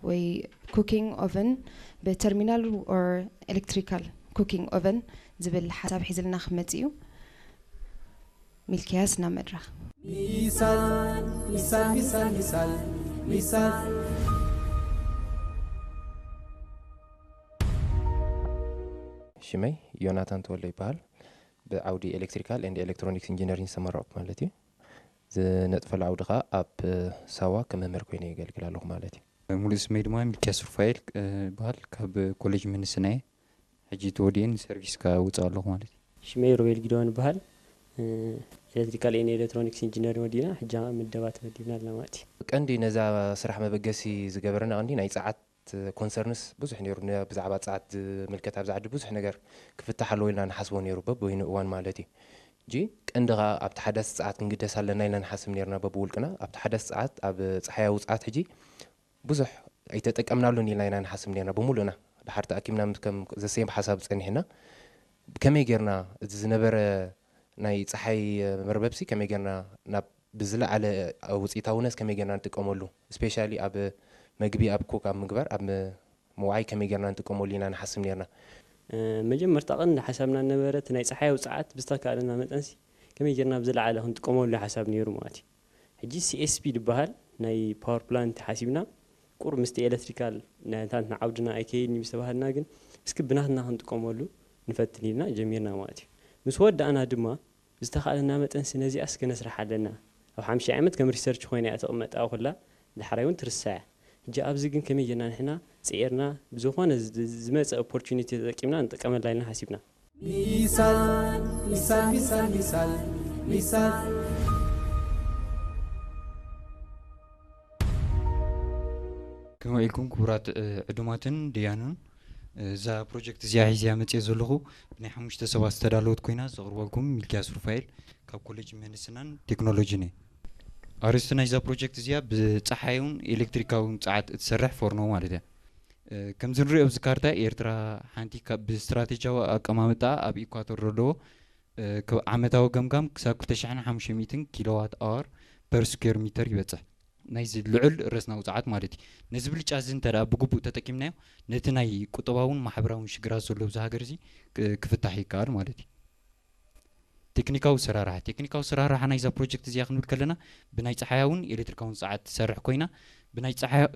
ወይ cooking oven ብተርሚናል or electrical cooking oven ዝብል ሓሳብ ሒዝልና ክመጽእ እዩ። ሚልኪያስ ናብ መድረኽ። ሚሳል ሚሳል ሚሳል ሚሳል ሚሳል። ሽመይ ዮናታን ተወልደ ይበሃል። ብዓውዲ ኤሌክትሪካል and ኤሌክትሮኒክስ ኢንጂነሪንግ ዝተመረቕኩ ማለት እዩ። ዝነጥፈሉ ዓውዲ ከዓ ኣብ ሳዋ ከም መምህር ኮይነ የገልግል ኣለኹ ማለት እዩ። ሙሉእ ስመይ ድማ ሚልኪያስ ሩፋኤል ይበሃል። ካብ ኮሌጅ ምህንድስና እየ። ሕጂ ተወዲኤ ንሰርቪስ ከዓ ውፅእ ኣለኹ ማለት እዩ። ሽመይ ሮቤል ጊደዋን ይበሃል። ኤሌክትሪካል and ኤሌክትሮኒክስ ኢንጂነሪንግ ወዲእና ሕጂ ከዓ ምደባ ተመዲብና ኣለና ማለት እዩ። ቀንዲ ነዛ ስራሕ መበገሲ ዝገበረና ቀንዲ ናይ ፀዓት ኮንሰርንስ ብዙሕ ነይሩ። ብዛዕባ ፀዓት ዝምልከት ኣብዚ ዓዲ ብዙሕ ነገር ክፍታሕ ኣለዎ ኢልና ንሓስቦ ነይሩ በብወይኑ እዋን ማለት እዩ። ሕጂ ቀንዲ ከዓ ኣብቲ ሓዳስ ፀዓት ክንግደስ ኣለና ኢልና ንሓስብ ነይርና በብውልቅና። ኣብቲ ሓዳስ ፀዓት ኣብ ፀሓያዊ ፀዓት ሕጂ ብዙሕ ኣይተጠቀምናሉን ኢልና ኢና ንሓስብ ነርና ብምሉእና። ድሓር ተኣኪብና ምስ ከም ዘሰየም ሓሳብ ጸኒሕና ከመይ ጌርና እቲ ዝነበረ ናይ ጸሓይ መርበብሲ ከመይ ጌርና ናብ ብዝለዓለ ውፅኢታውነት ከመይ ጌርና ንጥቀመሉ፣ ስፔሻሊ ኣብ መግቢ ኣብ ኮክ ኣብ ምግባር ኣብ ምውዓይ ከመይ ጌርና ንጥቀመሉ ኢና ንሓስብ ነርና። መጀመርታ ቀንዲ ሓሳብና ነበረ እቲ ናይ ጸሓይ ውፅዓት ብዝተካእለና መጠንሲ ከመይ ጌርና ብዝለዓለ ክንጥቀመሉ ሓሳብ ነይሩ ማለት እዩ። ሕጂ CSP ዝበሃል ናይ ፓወር ፕላንት ሓሲብና ቁሩብ ምስቲ ኤለክትሪካል ናታትና ዓውድና ኣይከይድን እዩ ዝተባሃልና ግን እስኪ ብናትና ክንጥቀመሉ ንፈትን ኢልና ጀሚርና ማለት እዩ። ምስ ወዳእና ድማ ብዝተኻእለና መጠንሲ ነዚኣስ ከነስርሓ ኣለና። ኣብ ሓምሽተ ዓመት ከም ሪሰርች ኮይና እያ ትቕመጥ ኣብኣ ኩላ ዳሕራይ እውን ትርሳዕ እያ። ሕጂ ኣብዚ ግን ከመይ ጌርና ንሕና ፅዒርና ብዝኾነ ዝመፀ ኦፖርቹኒቲ ተጠቂምና ንጥቀመላ ኢልና ሓሲብና። ሚሳል ሚሳል ሚሳል ሚሳል ሚሳል። ከመይ ኢልኩም ክቡራት ዕዱማትን ደያኑን። እዛ ፕሮጀክት እዚኣ ሒዘያ መፅየ ዘለኹ ብናይ ሓሙሽተ ሰባት ዝተዳለወት ኮይና ዘቕርበልኩም ሚልኪያስ ሩፋኤል ካብ ኮሌጅ ምህንድስናን ቴክኖሎጂን እየ። ኣርእስቲ ናይዛ ፕሮጀክት እዚኣ ብፀሓያውን ኤሌክትሪካውን ፀዓት እትሰርሕ ፎርኖ ማለት እያ። ከምዚ ንሪኦ ኣብዚ ካርታ ኤርትራ ሓንቲ ካብ ብስትራቴጂያዊ ኣቀማምጣ ኣብ ኢኳቶር ዘለዎ ዓመታዊ ገምጋም ክሳብ ክልተ ሽሕን ሓሙሽተ ሚእትን ኪሎዋት ኣወር ፐር ስኩዌር ሚተር ይበፅሕ። ናይዚ ልዑል ረስናዊ ፀዓት ማለት እዩ። ነዚ ብልጫ እዚ እንተ ብግቡእ ተጠቂምናዮ ነቲ ናይ ቁጠባውን ማሕበራውን ሽግራት ዘሎ ኣብዚ ሃገር እዚ ክፍታሕ ይከኣል ማለት እዩ። ቴክኒካዊ ኣሰራርሓ ቴክኒካዊ ኣሰራርሓ ናይዛ ፕሮጀክት እዚኣ ክንብል ከለና ብናይ ፀሓያውን ኤሌክትሪካውን ፀዓት ትሰርሕ ኮይና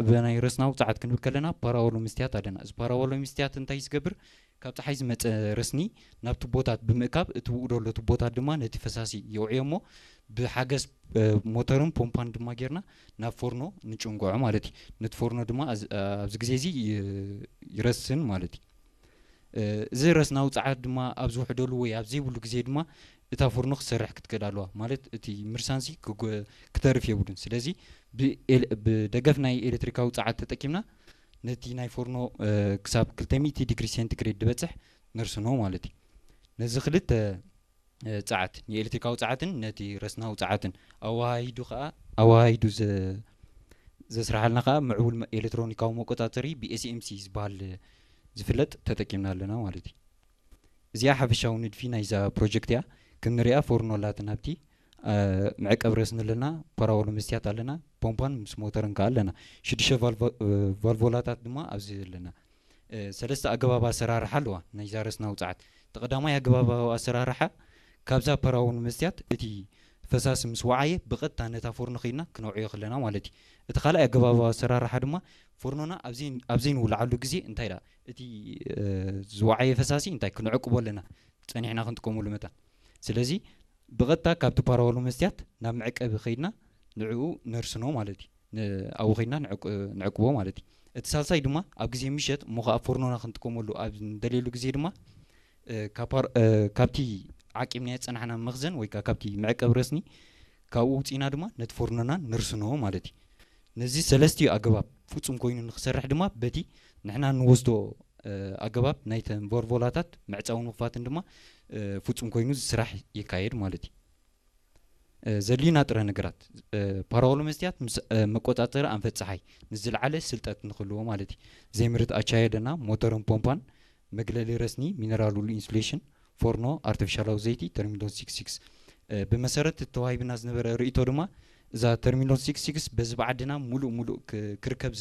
ብናይ ረስናዊ ፀዓት ክንብል ከለና ፓራወሎ መስትያት ኣለና። እዚ ፓራወሎ መስትያት እንታይ ዝገብር ካብ ፀሓይ ዝመፀ ረስኒ ናብ ቱቦታት ብምእካብ እቲ ውኡ ደሎ ቱቦታት ድማ ነቲ ፈሳሲ የውዕዮ እሞ ብሓገዝ ሞተርን ፖምፓን ድማ ጌርና ናብ ፎርኖ ንጭንጎዖ ማለት እዩ። ነቲ ፎርኖ ድማ ኣብዚ ግዜ እዚ ይረስን ማለት እዩ። እዚ ረስናዊ ፃዓት ድማ ኣብ ዝውሕደሉ ወይ ኣብ ዘይብሉ ግዜ ድማ እታ ፎርኖ ክትሰርሕ ክትክእል ኣለዋ። ማለት እቲ ምርሳንሲ ክተርፍ የብሉን። ስለዚ ብደገፍ ናይ ኤሌክትሪካዊ ፃዓት ተጠቂምና ነቲ ናይ ፎርኖ ክሳብ ክልተ ሚእቲ ዲግሪ ሴንቲግሬድ ዝበፅሕ ነርስኖ ማለት እዩ። ነዚ ክልተ ፃዓት ንኤሌክትሪካዊ ፃዓትን ነቲ ረስናዊ ፃዓትን ኣወሃሂዱ ከዓ ኣወሃሂዱ ዘስርሓልና ከዓ ምዕቡል ኤሌክትሮኒካዊ መቆፃፀሪ ብኤስኤምሲ ዝበሃል ዝፍለጥ ተጠቂምና ኣለና ማለት እዩ። እዚኣ ሓፈሻዊ ንድፊ ናይዛ ፕሮጀክት እያ። ክንሪኣ ፎርኖ ኣላትና ኣብቲ መዕቀብ ረስኒ ኣለና፣ ፓራወሎ መስትያት ኣለና፣ ፖምፓን ምስ ሞተርን ከዓ ኣለና። ሽዱሽተ ቫልቮላታት ድማ ኣብዚ ኣለና። ሰለስተ ኣገባብ ኣሰራርሓ ኣለዋ ናይዛ ረስናዊ ፀዓት። እቲ ቀዳማይ ኣገባባዊ ኣሰራርሓ ካብዛ ፓራወሎ መስትያት እቲ ፈሳሲ ምስ ወዓየ ብቐጥታ ነታ ፎርኖ ከይድና ክነውዕዮ ከለና ማለት እዩ። እቲ ካልኣይ ኣገባባዊ ኣሰራርሓ ድማ ፎርኖና ኣብ ዘይንውልዓሉ ግዜ እንታይ ደኣ እቲ ዝወዓየ ፈሳሲ እንታይ ክንዕቅቦ ኣለና ፀኒሕና ክንጥቀመሉ መታን። ስለዚ ብቐጥታ ካብቲ ፓራወሎ መስትያት ናብ መዕቀቢ ከይድና ንዕኡ ነርስኖ ማለት እዩ። ኣብኡ ከይድና ንዕቅቦ ማለት እዩ። እቲ ሳልሳይ ድማ ኣብ ግዜ ምሸት እሞ ከዓ ፎርኖና ክንጥቀመሉ ኣብ ንደልየሉ ግዜ ድማ ካብቲ ዓቂብናዮ ዝፀናሕና መኽዘን ወይ ከዓ ካብቲ መዕቀቢ ረስኒ ካብኡ ውፅኢና ድማ ነቲ ፎርኖና ነርስኖ ማለት እዩ። ነዚ ሰለስቲኡ ኣገባብ ፍፁም ኮይኑ ንክሰርሕ ድማ በቲ ንሕና ንወስዶ ኣገባብ ናይተን ቮልቮላታት መዕፀዊ ንኹፋትን ድማ ፍፁም ኮይኑ ዝስራሕ ይካየድ ማለት እዩ። ዘድልዩና ጥረ ነገራት ፓራወሎ መስትያት ምስ መቆፃፀሪ ኣንፈት ፀሓይ ንዝለዓለ ስልጠት ንክህልዎ ማለት እዩ። ዘይምርት ኣቻየደና ሞተርን ፖምፓን መግለሊ ረስኒ ሚነራል ውሉ ኢንሱሌሽን ፎርኖ ኣርቲፊሻላዊ ዘይቲ ተርሚኖን ሲክስ ሲክስ ብመሰረት ተዋሂብና ዝነበረ ርእቶ ድማ እዛ ተርሚኖን ሲክስ ሲክስ በዚ ብዓድና ሙሉእ ሙሉእ ክርከብ